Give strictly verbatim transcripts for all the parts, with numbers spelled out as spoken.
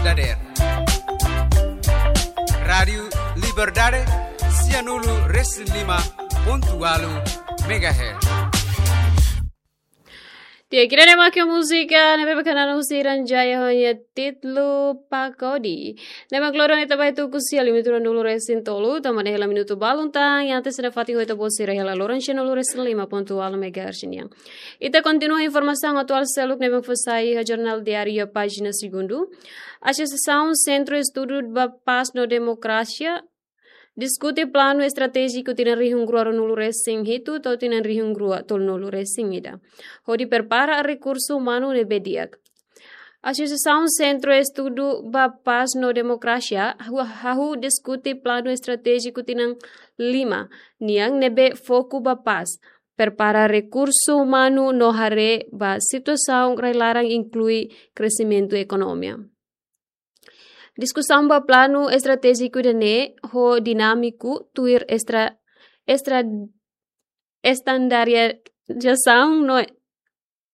dadeer. Rádiu Liberdade, sianulu resin lima pontu ualu megahertz. Tiha kira ne make múzika ne'ebé mak hanesan husi Ranjaya ho nia títulu Pakodi. Ne'ebé mak loron ita ba tuku sia limitu ruanulu resin tolu, tama ne'e hela minutu balun tan, iha ita sei nafatin ho ita-boot sira iha loron sianulu resin lima pontu ualu megahertz nian. Ita kontinua informasaun atuál seluk ne'ebé mak fó sai iha Jornál Diáriu pájina segundu. Asosiasaun Sentru Estudu ba Pás no Demokrasia diskute planu estratéjiku tinan rihun rua ruanulu resin hitu to'o tinan rihun rua tolunulu resin ida, hodi prepara rekursu umanu ne'ebé di'ak. Asosiasaun Sentru Estudu ba Pás no Demokrasia hahú, hahú diskute planu estratéjiku tinan lima nian ne'ebé foku ba pás, prepara rekursu umanu no haree ba situasaun rai-laran, inklui kresimentu ekonomia. Diskusaun ba planu estratéjiku ida-ne'e ho dinámiku tuir estra-, estra-, estandarizasaun no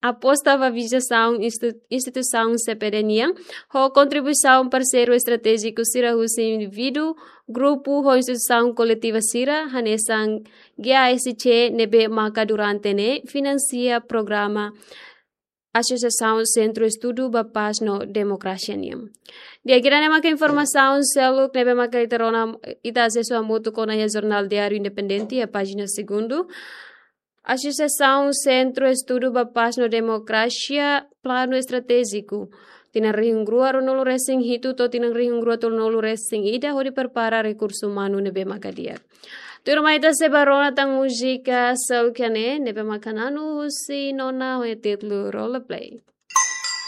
aposta ba vizasaun institu-, instituisaun C P D nian, ho kontribuisaun parseiru estratéjiku sira husi indivíduu, grupu ho instituisaun koletiva sira, hanesan G A S C ne'ebé maka durante ne'e finansia programa Asosiasaun Sentru Estudu ba Pás no Demokrasia nian. Di'ak, ida-ne'e maka informasaun seluk ne'ebé maka ita rona, ita asesu hamutuk ona iha Jornál Diáriu Independente iha pájina segundu. Asosiasaun Sentru Estudu ba Pás no Demokrasia planu estratéjiku tinan rihun rua ruanulu resin hitu to'o tinan rihun rua tolunulu resin ida hodi prepara rekursu umanu ne'ebé maka di'ak. Tuirmai ita sei ba rona tan múzika seluk ne'e, ne'ebé maka hanesan husi Nona ho nia títulu Roleplay.